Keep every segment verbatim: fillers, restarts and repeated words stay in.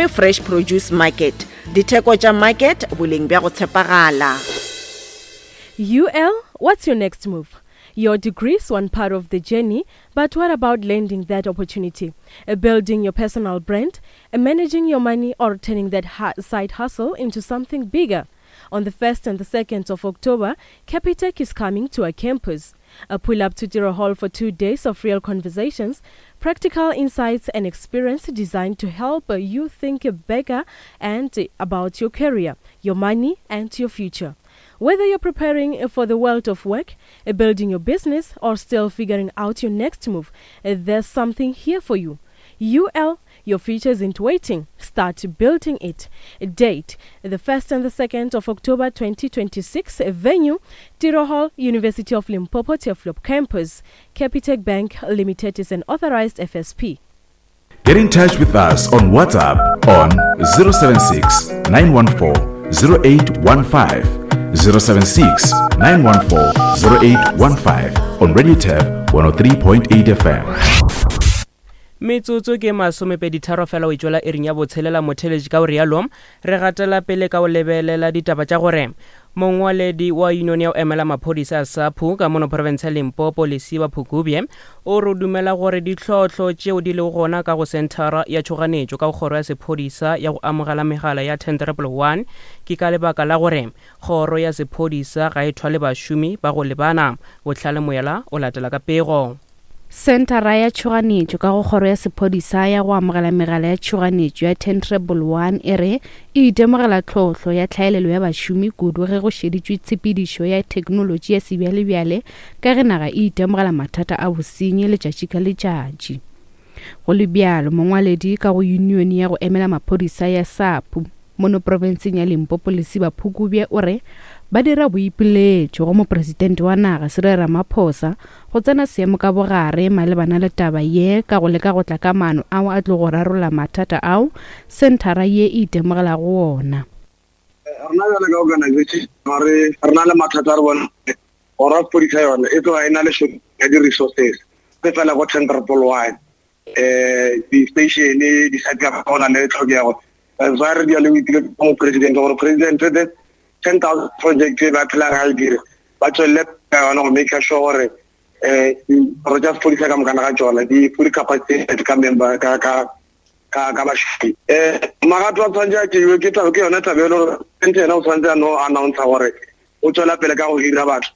Gomme Fresh Produce Market, ditheko tša market, boleng bja go tshepagala. U L, what's your next move? Your degree's one part of the journey, but what about landing that opportunity? Uh, building your personal brand, uh, managing your money, or turning that ha- side hustle into something bigger? On the first and the second of October, Capitec is coming to our campus. A pull up to Tiro Hall for two days of real conversations, practical insights, and experience designed to help uh, you think bigger and uh, about your career, your money, and your future. Whether you're preparing for the world of work, uh, building your business, or still figuring out your next move, uh, there's something here for you. U L, your future isn't waiting. Start building it. Date: the first and the second of October twenty twenty-six. Venue: Tiro Hall, University of Limpopo, Turfloop Campus. Capitec Bank Limited is an authorized F S P. Get in touch with us on WhatsApp on zero seven six nine one four zero eight one five, zero seven six nine one four zero eight one five on Radio Turf one oh three point eight F M. Metsotso ke masomepeditharo fela o itswela iring ya botshelela, motheletši. Ka o rialo re gatela pele ka o lebelela ditaba tša gore mongwaledi wa union ya go emela maphodisa a SAPU ka mono province ya Limpopo, Lesiba Phukubye, o re dumela gore ditlhohlo tšeo di lego gona ka go senthara ya tšhoganetšo ka go kgoro ya sephodisa ya go amogela megala ya ten one one ke ka lebaka la gore kgoro ya sephodisa ga e thwale bašomi ba go lebana. Bohlale Moyela o latela ka pego. Senthara ya tšhoganetšo ka go kgoro ya sephodisa ya go amogela megala ya tšhoganetšo ya ten one one e re e itemogela tlhohlo ya tlhaelelo ya bašomi, kudu ge go šeditšwe tshepedišo ya theknolotši ya sebjalebjale, ka ge naga e itemogela mathata a bosenyi letšatši ka letšatši. Go le bjalo, mongwaledi ka go union ya go emela maphodisa ya SAPU mono profenseng ya Limpopo, Lesiba Phukubye, o re ba dira boipiletšo go mopresidente wa naga Cyril Ramaphosa go tsena seemo ka bogare malebana le taba ye ka go leka go tla ka maano ao a tlo go rarolla mathata ao senthara ye e itemogelago wona. Rena bjale ka organization ga re re na le mathata a re bona gora sepodisa yone e tloga e na le short ya di-resources se fela go ten triple one um di-station di-site ka go na le tlhokego. That's why re dia le boipile mo president gore president the ten thousand project e ba phelang ga e dire ba tswelele ka yona go make sure gore um dikgoro tša sepodisa ka mokana ga tsona di fully capacitated ka member ka ka ka ka bašomi. um magato a tshwanetse a tšeiwe ke taba ke yone taba e le gore president yena o tshwanetse a no announce gore o tswela pele ka go hira batho.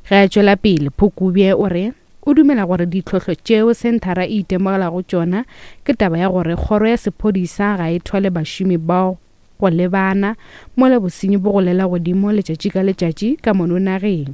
Ge a tšwela pele, Phukubye o re o dumela gore ditlhohlo tšeo senthara e itemogelago tšona ke taba ya gore kgoro ya sephodisa ga e thwale bašomi bao go lebana mola bosenyi bo golela godimo letšatši ka letšatši ka mono nageng.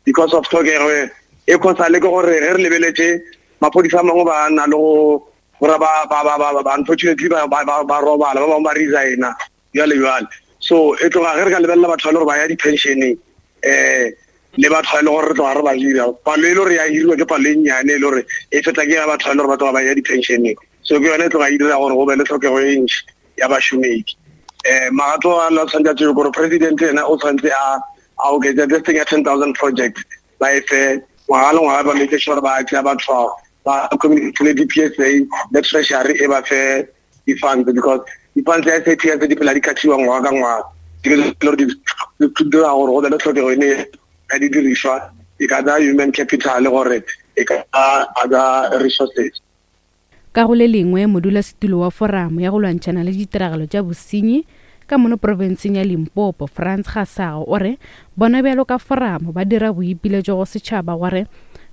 Because of tlhokego e khosale ke gore ge re lebeletše maphodisa a mangwe ba na le go gore ba ba ba ba ba unfortunately ba ba ba ba robala, ba bangwe ba resigna jwale jwale. So e tloga ge re ka lebelela batho ba le gore ba ya di-pensioneng um le batho ba e le gore re tloga re ba hira, palo e le gore ya hiriwa ke palo e nnyane e le gore e feta ke ya batho ba e le gore ba tloga ba ya di-pensioneng. So ke yone e tloga e dira gore go be le tlhokego e ntši ya bašomedi. um magato a la tshwanetse a tšeiwe gore president ena o tshwanetse a a oketsa this thing ya ten thousand project, ba e fe ngwaga le ngwaga, ba make sure ba tšea batho bao ba communicate le D P S A le Treasury e ba fe di-funds, because di-funds ya S A P S di phela di kgathiwa ngwaga ka ngwaga. Di le gore di dira gore go be le tlhokego ene ya didirišwa, e ka ba human capital gore e ka other resources. Ka go le lengwe, modulasetulo wa foramo ya go lwantšhana le ditiragalo tša bosenyi ka mono profenseng ya Limpopo, Frans Gasago, o re bona bjalo ka foramo ba dira boipiletšo go setšhaba gore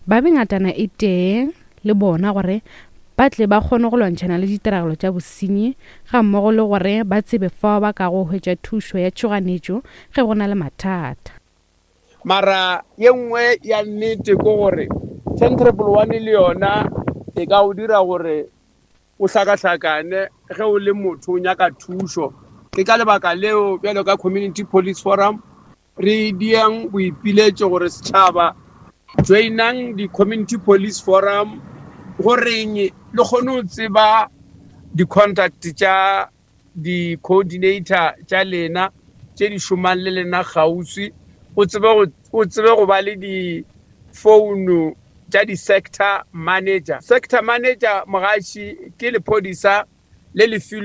ba be ngatana e tee le bona gore ba tle ba kgone go lwantšhana le ditiragalo tša bosenyi, ga mmogo le gore ba tsebe fao ba ka go hwetša thušo ya tšhoganetšo ge go na le mathata. Mara ye nngwe ya nnete ke gore ten triple one le yona e ka go dira gore o hlakahlakane ge o le motho o nyaka thušo. Ke ka lebaka leo bjalo ka Community Police Forum re diang boipiletšo gore setšhaba joinang di-Community Police Forum goreng le kgone go tseba di-contact tša di-coordinator tša lena tše di šomang le lena kgauswi, o tsebe go o tsebe go ba le di-phone tša di-sector manager. Sector manager, mogaši, ke lephodisa le le filwe.